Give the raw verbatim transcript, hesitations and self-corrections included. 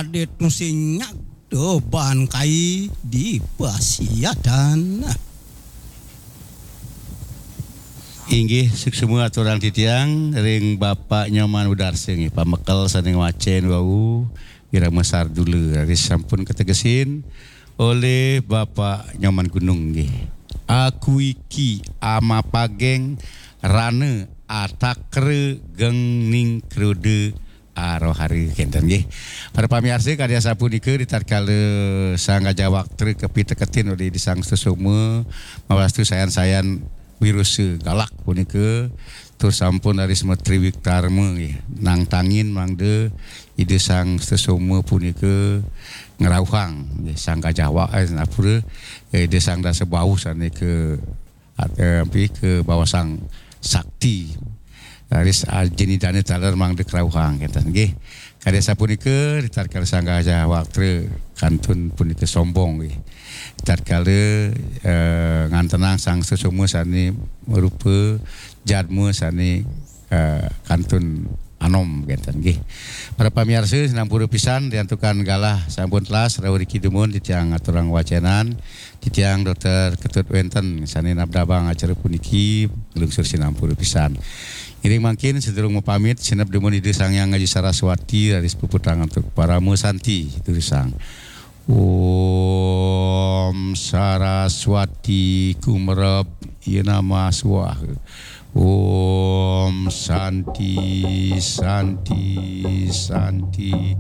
Adit nu sing nyagda ban kai di pasiadan. Inggih, suksma aturang titiang ring Bapak Nyoman Udarsa nggih, pamekel sané ngwacén wau, irama sardula, raris sampun kategesin olih Bapak Nyoman Gunung nggih. Aku iki amapageng rana atakra geng ning kroda arohara kénten nggih. Para pamiarsa, kadi asapunika ritatkala Sang Gajah Waktra kapiteketin olih Ida Sang Sutasoma mawastu sayan-sayan wirusa galak punika, tur sampun raris matriwiktarma nggih, nangtangin mangda Ida Sang Sutasoma punika ngrauhang nggih, Sang Gajah Wa-, eh, napura, eh, Ida Sang Dasa Bahu sané ka at-, eh, ampi ka bawasang sakti. Raris ajin Idané taler mangda krauhang kénten nggih. Kadi asapunika, ritatkala Sang Gajah Waktra kantun punika sombong nggih. Ritatkala, eh, ngantenang Sang Sutasoma sané marupa jadma sané, eh, kantun anom kénten nggih. Para pamiarsa, sinampura pisan riantukan galah sampun telas rauh riki dumun titiang aturang wacénan. Titiang Dokter Ketut wénten sané nabdabang acara puniki, nglungsur sinampura pisan. Ngiring mangkin sadurung mapamit, sineb dumun Ida Sang Hyang Aji Saraswati, raris puputang antuk parama santi, durusang. Om Saraswati kumerep, ya nama swaha. Om Santi, Santi, Santi.